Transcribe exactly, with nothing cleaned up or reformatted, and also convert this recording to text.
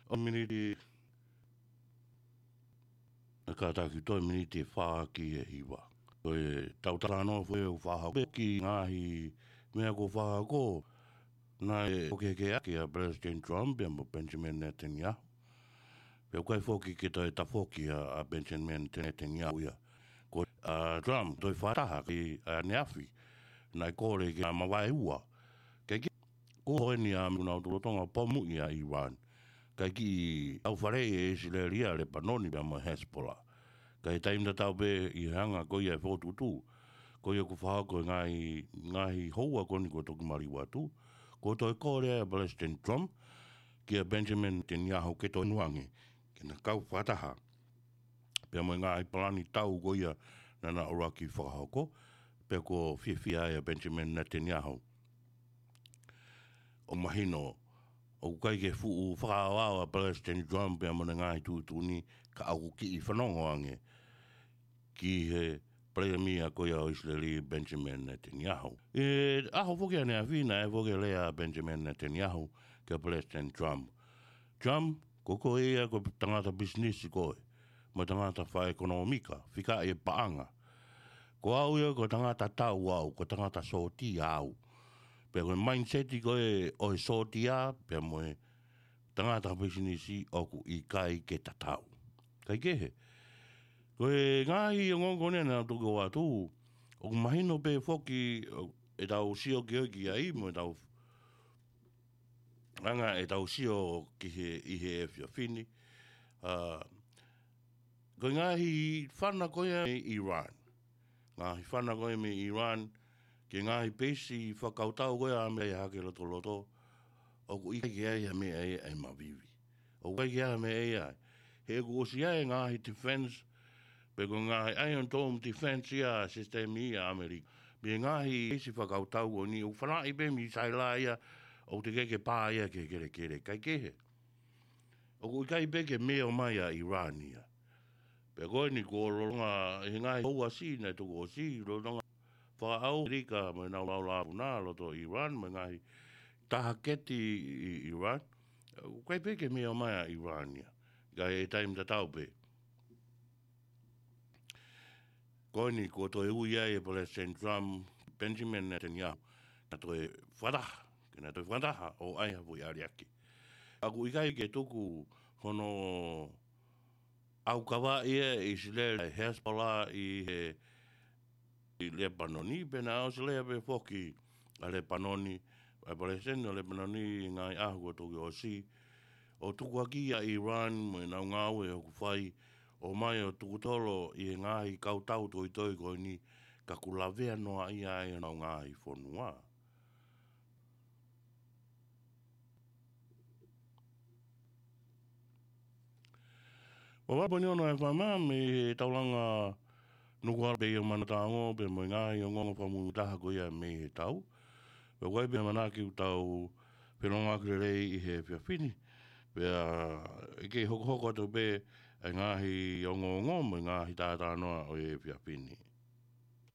ʻo miniti, ʻe kātaki toe miniti ʻe fā ki he hiva. Ko e tau talanoa foki ʻoku fakahoko ki he ngaahi meʻa kuo fakahoko, naʻe ʻohake ʻaki ʻa Palesiteni Trump pea mo Benjamin Netanyahu. Pea ʻoku ʻikai foki ke toe tafoki ʻa, ʻa Benjamin Netanyahu ia. Ko, ʻa, Trump toe fakataha ki, ʻa, ʻaneafi, naʻe kole ke mavaeua. Kae kehe, ko eni ʻa e meʻa naʻe lolotonga pomuʻi ʻa ʻIran. Kae kiʻi ʻaufaleʻi ʻe ʻIsileli ʻa Lepanoni pea mo Hezbollah. Ka ʻi he taimi tatau pē ʻi he anga ko ia e fokotuʻutuʻu ko ia kuo fakahoko ʻe he ngaahi, ngaahi houa ko eni kuo toki maliu atu, kuo toe kole ʻa Palesiteni Trump kia Benjamin Netanyahu ke toe inu ange, ke na kau fakataha pea mo e ngaahi palani tau ko ia naʻa na ʻuluaki fakahoko, pea kuo fiefia ai ʻa Benjamin Netanyahu. ʻOku mahino, ʻoku ʻikai ke fuʻu fakaʻaoʻao ʻa Palesiteni Trump pea mo ʻene ngaahi tuʻutuʻuni, ka ʻoku kiʻi fanongo ange ki he palēmia ko ia ʻo ʻIsileli, Benjamin Netanyahu. ʻI he ʻaho foki ʻaneafi naʻe foki e lea ʻa Benjamin Netanyahu kia Palesiteni Trump. Trump, ko koe ia ko e tangata pisinisi koe, mo e tangata fakaʻekonōmika, fika e paʻanga. Ko au ia ko e tangata tau au, ko e tangata sōtia au. Pea ko e mindset ko ē ʻo e sōtia, pea mo e tangata pisinisi ʻoku ʻikai ke tatau. Kae kehe, ko e ngaahi ongoongo ko eni naʻa tau toki ʻoatu, ʻoku mahino pē foki, ʻo, ʻetau sio ki ai, ki ai, mo ʻetau anga ʻetau sio ki he, ʻi he efiafi ni. ʻA, ko e ngaahi fana ko ia mei ʻIran. Ngaahi fana ko ia mei ʻIran, ki he ngaahi peisi fakakautau ko ia ʻa ʻAmelika ʻi he hake lotoloto, ʻoku ʻikai ke ʻi ai ha meʻa ia ʻe mavivi. ʻOku ʻikai ke ʻi ai ha meʻa ia. He kuo ʻosi ʻi ai e ngaahi defense, pe ko e ngaahi Iron Dome defense ia sisitemi ʻa ʻAmelika. Mei he ngaahi peisi fakakautau ko eni, ʻoku fanaʻi pē misaila ia, ʻoku teʻeki ke pā ia ki he kelekele. Kae kehe, ʻoku ʻikai pē ke meo mai ʻa ʻIran ia. Pea ko eni kuo lolotonga, ʻi he ngaahi houa siʻi naʻe toki ʻosi, lolotonga fakaʻau ʻAmelika mo ʻenau laulāpuna ʻi loto ʻIran, mo e ngaahi tahaketi ʻi, ʻi ʻIran. ʻOku ʻikai pē ke meo mai ʻa ʻIran ia. Ka ʻi he taimi tatau pē, ko eni kuo toe ui ai ʻe Palesiteni Trump, Benjamin Netanyahu, ke na toe fakataha, ke na toe fakataha ʻo ʻai ha foʻi ʻaliaki. ʻOku ʻikai ke tuku hono ʻaukavaʻi ʻe ʻIsileli ʻa e Hezbollah ʻi he, ʻi Lepanoni, pea naʻe ʻosi lea pē foki ʻa Lepanoni, ʻa e palesiteni ʻo Lepanoni ʻi he ngaahi ʻaho kuo toki ʻosi, ʻo tukuakiʻi ʻa ʻIran mo ʻenau ngāue ʻoku fai, ʻomai ʻo tukutolo ʻi he ngaahi kautau toitoi ko eni, ka kuo lavea noaʻia ai honau ngaahi fonua. Ua ua poini ono F M mei he taulanga Nukuʻalofa pē ia ʻo Manaʻotaongo, pea mo e ngaahi ongoongo fakamuimui taha ko ia mei he tau. Pea ʻoku ʻi ai pē ʻamanaki ʻoku tau felōngoaki lelei ʻi he efiafi ni. Pea ʻe kei hokohoko atu pē ʻa e ngaahi ongoongo mo e ngaahi talanoa ʻo e efiafi ni.